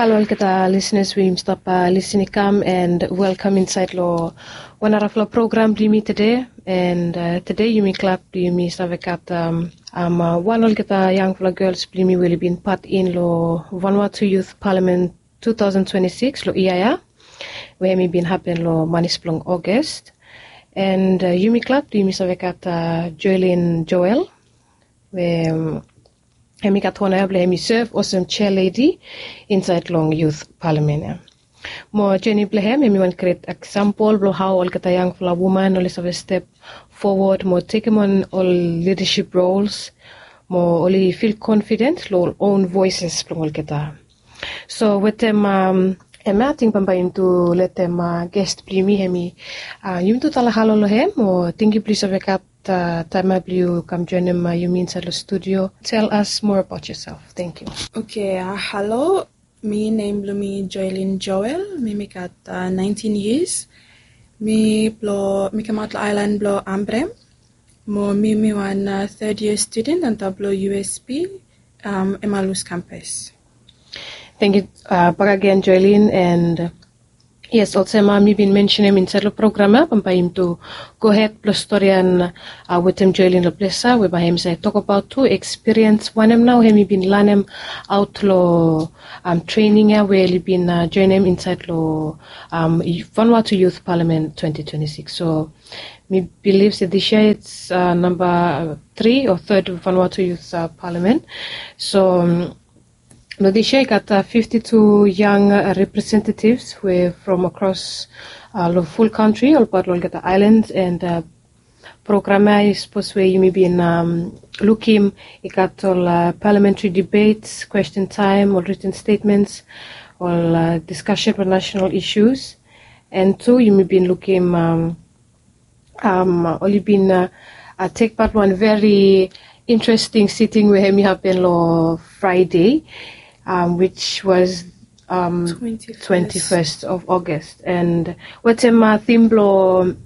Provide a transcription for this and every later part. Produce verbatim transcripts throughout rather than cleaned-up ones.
Halo olgeta lisenas we yumi stap lisin i kam, and welkam insaed long wan narafala program blong yumi tede. And tede yumi glad blong yumi save gat wan olgeta yangfala gels blong yumi we oli bin pat in long Vanuatu Youth Parliament two thousand twenty-six long yia ya, we hemi bin hapen long manis blong Ogos. And yumi glad blong yumi save gat Joelin Joel, we hemi gat ona ya blong hemi sev olsem chair lady insaed long Youth Parliament ya. Mo jeni blong hem hemi wan gret eksampol blong hao olgeta yangfala woman oli save step fowod mo tekem on ol lidasip rols, mo oli fil konfiden long ol own voeses blong olgeta. So wetem hemia ating bambae yumi tu letem ges blong yumi hemi yumi tu talem halo long hem, mo tangkiu blong yu save gat taem ya blong yu kam joenem yumi insaed long studio. Tell us more about yourself. Tangkiu. Okay, halo. Mi nem blong mi Joelin Joel. Mi mi gat nineteen years. Mi blong mi kamaot long aelan blong Ambrym. Mo mi mi wan third year student antap long U S P, Emmalus Campus. Tangkiu bakegen Joelin. And yes, olsem mi bin mensenem insaed long program ya, bambae yumi tu gohed blong storian wetem Joelin long ples ya, we bae hemi save tokbaot tu ekspiriens wanem nao hemi bin lanemaot long trening ya we oli bin joenem insaed long Vanuatu Youth Parliament twenty twenty-six. So mi bilif se dis yia it's namba tri o third Vanuatu Youth Parliament. So long dis yia i gat fifty-two yang representativs we from across long ful kantri, olbaot long olgeta aelans. And program ya i sapos we yumi bin lukim, i gat ol parliamentary debates, question time, ol written statements, ol discussion on national issues. And tu yumi bin lukim oli bin tekpat long wan very interesting sitting we hemi hapen long Fraede, which was twenty-first of August. And wetem theme blong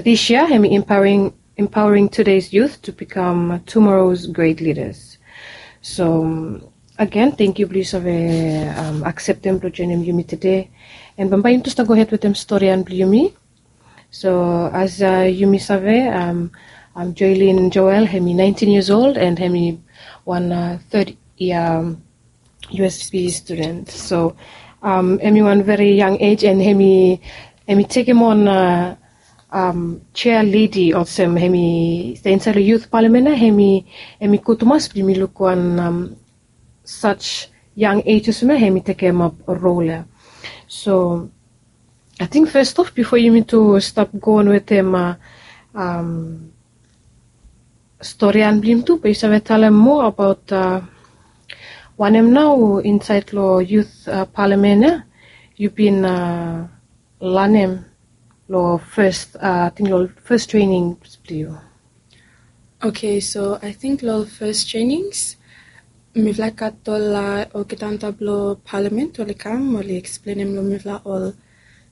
dis yia hemi empowering, empowering today's youth to become tomorrow's great leaders. So agen, tangkiu blong yu save akseptem blong joenem yumi tede. And bambae yumi tu stap gohed wetem storian blong yumi. So as yumi save, Joelin Joel hemi nineteen years old and hemi wan third year U S P student. So hemi wan very young age and hemi, hemi tekem on chair lady olsem hemi stap insaed long Youth Parliament ya, hemi, hemi gud tumas blong yumi luk wan such young age olsem ya hemi tekemap rol ya. So ating fes of bifo yumi tu stap go on wetem storian blong yumi tu, be yu save talem moa abaot wanem nao insaed long Youth Parliament ya yu bin lanem long fes, ating long fes trenings blong yu? Okay, so ating long fes trenings mifala gat ol olgeta antap long Parliament oli kam oli eksplenem long mifala ol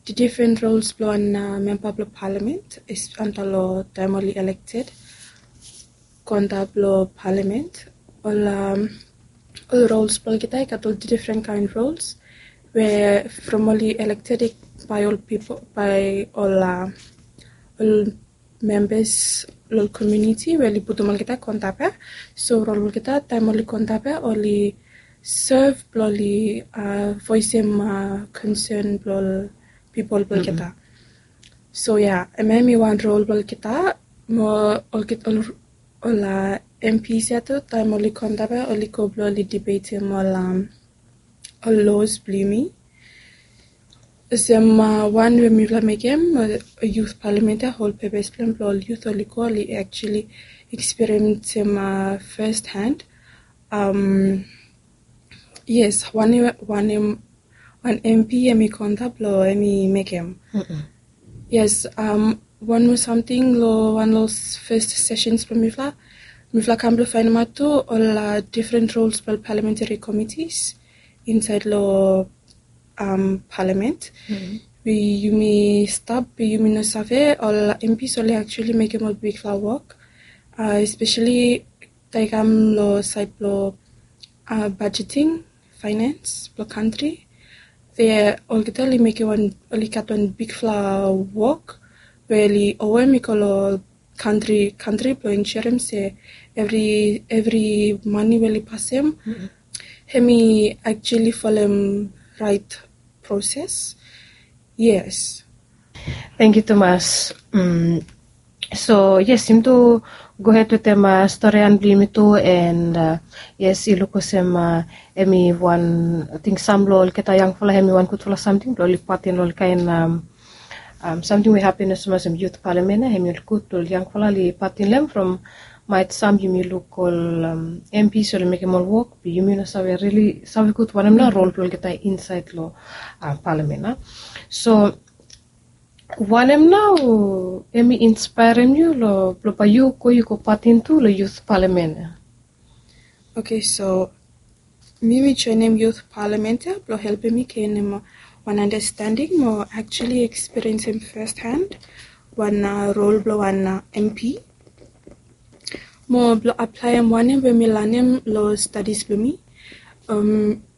difren rols blong wan memba blong Parliament antap long taem oli elekted go antap long Parliament. Ol ol rols blong olgeta i gat ol difren kaen rols we from oli elekted bae ol pipol, bae ol ol membas long ol komuniti we oli putum olgeta go antap ya. So rol blong olgeta taem oli go antap ya oli sev blong oli voesem konsen blong ol pipol blong olgeta. So ya, hemia hemi wan rol blong olgeta. Mo olgeta ol, ol MPs ya tu taem oli go antap ya oli go blong oli dibetem ol ol laws blong yumi. Olsem wan we mifala mekem, Youth Parliament ya, hol pepes blong hem blong ol youth oli go oli actually ekspiriensem first hand. Yes, wan, wan, wan MP hemi go antap blong hemi mekem. Yes, wan moa samting long wan long fes sessions blong mifala, mifala kam blong faenemaot tu ol difren rols blong ol parliamentary committees insaed long Parliament. Be yumi stap be yumi no save ol MPs oli actually mekem ol bigfala wok, especially taem i kam long saed blong budgeting, finance blong kantri. Olgeta oli mekem wan, oli gat wan bigfala wok we oli owem i go long kantri, kantri blong insurem se evri, evri mane we oli pasem hem i actually folem raet proses. Yes. Tangkiu tumas. So yes, yumi tu gohed wetem storian blong yumi tu, and yes, i luk olsem hemi wan, ating sam long olgeta yangfala hemi wan gudfala samting blong oli patin long ol kaen samting we hapen olsem, olsem yut palamen ya. Hemi ol gud blong ol yangfala oli patin long hem from maet sam yumi luk ol M Ps oli mekem ol wok be yumi no save rili save gud wanem nao rol blong olgeta insaed long palamen ya. So wanem nao hemi inspaerem yu long blong bae yu go, yu go patin tu long yut palamen ya? Oke, so mi mi joenem yut palamen ya blong helpem mi genem wan andastanding mo actually ekspiriensem first hand wan rol blong wan M P. Mo blong aplaem wanem we mi lanem long stadis blong mi.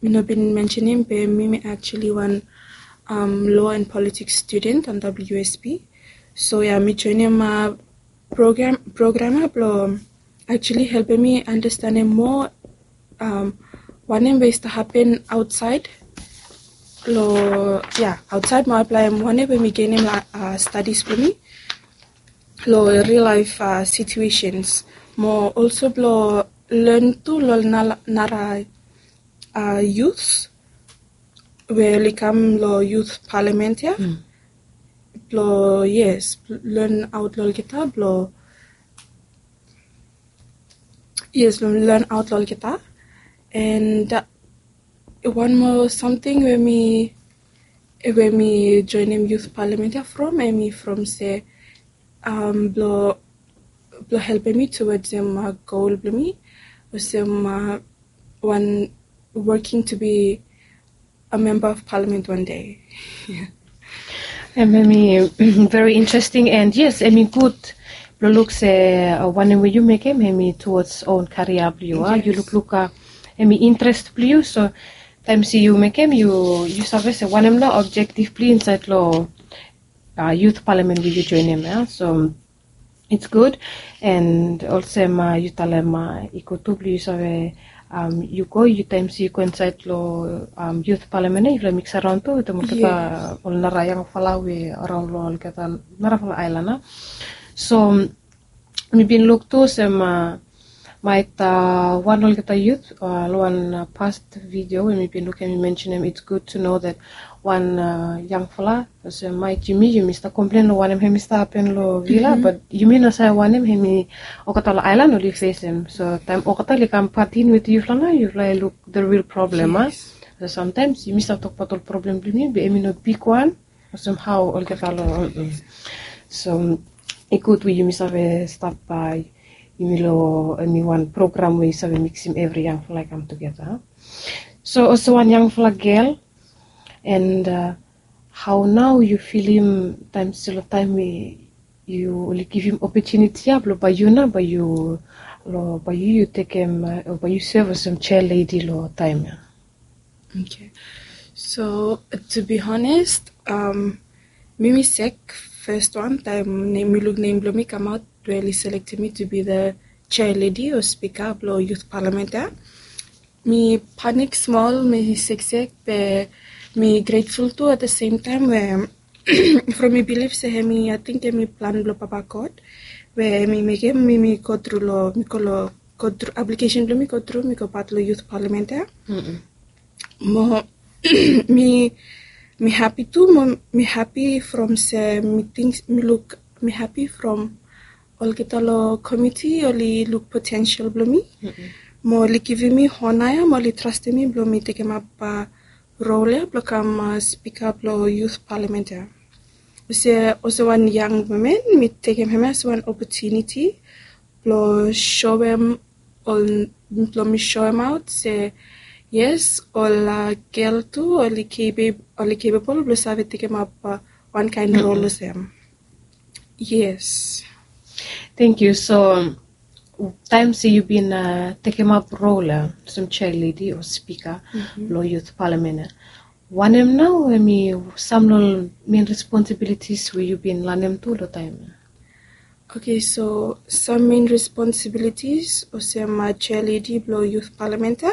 Mi no bin mensenem be mi mi actually wan law and politics student on W S P. So ya, mi joenem program, program ya blong actually helpem mi andastanem moa wanem we i stap hapen aotsaed long, ya, aotsaed mo aplaem wanem we mi genem long stadis blong mi long real life situations. Mo also blong len tu long nara youths we oli kam long yut palamen ya blong, yes, len aot long olgeta blong, yes, len aot long olgeta. And wan moa samting we mi, we mi joenem yut palamen ya from, hemi from se blong, blong helpem mi towards gol blong mi olsem wan working to be a member of parliament one day. Hemi very interesting, and yes, hemi gud blong luk se wanem we yu mekem hemi towards own karia blong yu. Yu lukluk hemi interes blong yu, so taem se yu mekem, yu save se wanem nao objektif blong yu insaed long yut palamen we yu joenem ya. So it's good. And olsem yu talem i gud tu blong yu save, yu go, yu taem se yu go insaed long yut palamen ya, yufala miks araon tu wetem olgeta ol nara yangfala we araon long olgeta narafala aelan ya. So mi bin luk tu olsem maet wan olgeta yut long wan past video we mi bin luk, hemi mensenem it's good to know that wan yangfala olsem maet yumi, yumi stap komplen long wanem hemi stap hapen long vila, bat yumi no save wanem hemi olgeta long aelan oli fesem. So taem olgeta oli kam patin wetem yufala nao, yufala i luk the real problem, a? So samtaems yumi stap tokbaot ol problem blong yumi be hemi no bigwan olsem hao olgeta long. So i gud we yumi save stap bae yumi long hemi wan program we i save miksum evri yangfala i kam tugeta. So olsem wan yangfala gel, and hao nao yu filim taem se long taem we yu oli givim opotuniti ya blong bae yu nao bae yu, long bae yu, yu tekem o bae yu sev olsem chair lady long taem ya? Oke. So to be honest, mi mi sek fes wan taem mi luk nem blong mi kamaot we oli selektem mi to be the chair lady o spika blong yut palamen ya. Mi panik smol, mi seksek, be mi grateful tu at the same time we from mi bilif se hemi, ating hemi plan blong Papa God we hemi mekem mi mi go tru long, mi go long, go tru, aplikesen blong mi go tru, mi go pat long yut palamen ya. Mo mi, mi hapi tu, mo mi hapi from se mi ting, mi luk, mi hapi from olgeta long komiti oli luk potensel blong mi mo oli givim mi ona ya mo oli trastem mi blong mi tekemap rol ya blong kam spika blong yut palamen ya. Olsem, olsem wan yang women mi tekem hemia olsem wan opotuniti blong soem ol, blong mi soemaot se yes, ol gel tu oli capable blong save tekemap wan kaen rol olsem. Yes. Tangkiu. So Taem se yu bin tekemap rol olsem chair lady o spika long youth parliament ya, wanem nao em i sam long ol main responsibilities we yu bin lanem tu long taem ya? Okay, so sam main responsibilities olsem chair lady blong youth parliament ya,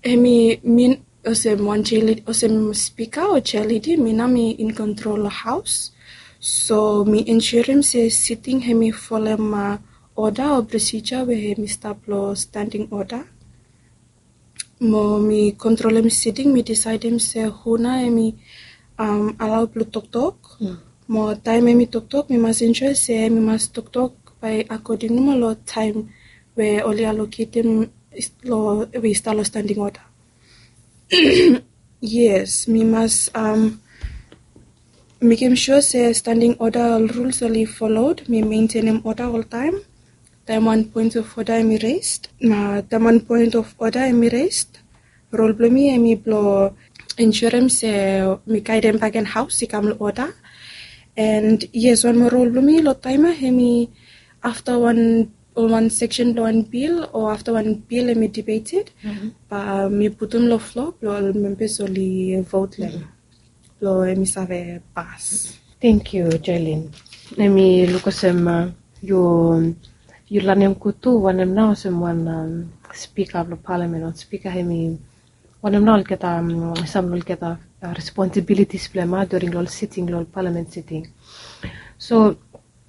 em i min olsem wan chair lady, olsem spika o chair lady, mi nao mi in kontrol long haos. So mi ensurem se siting em i folem oda o prosija we em i stap long standing oda. Mo mi kontrolem siting, mi disaedem se hu nao em i alao blong toktok. Mo taem em i toktok mi mas ensua se em i mas toktok bae akoding nomo long taem we oli aloketem long we i stap long standing oda. Yes, mi mas mekem sua se standing oda ol ruls oli folod, mi mentenem oda oltaem. Taem wan poen of oda em i resd, na taem wan poen of oda em i resd, rol blong mi em i blong ensurem se mi gaedem bagen haos i kam long oda. And yes, wan moa rol blong mi long taem ya em i afta wan ol wan seksen blong wan bil o afta wan bil em i dibeted, bae mi putum long flo blong ol membas oli vot long em blong em i save pas. Tangkiu Jailin. Em i luk olsem yu lanem gud tu wanem nao olsem wan spika blong palamen o spika em i wanem nao olgeta, sam long olgeta responsibilitis blong em during long ol siting long ol palamen siting. So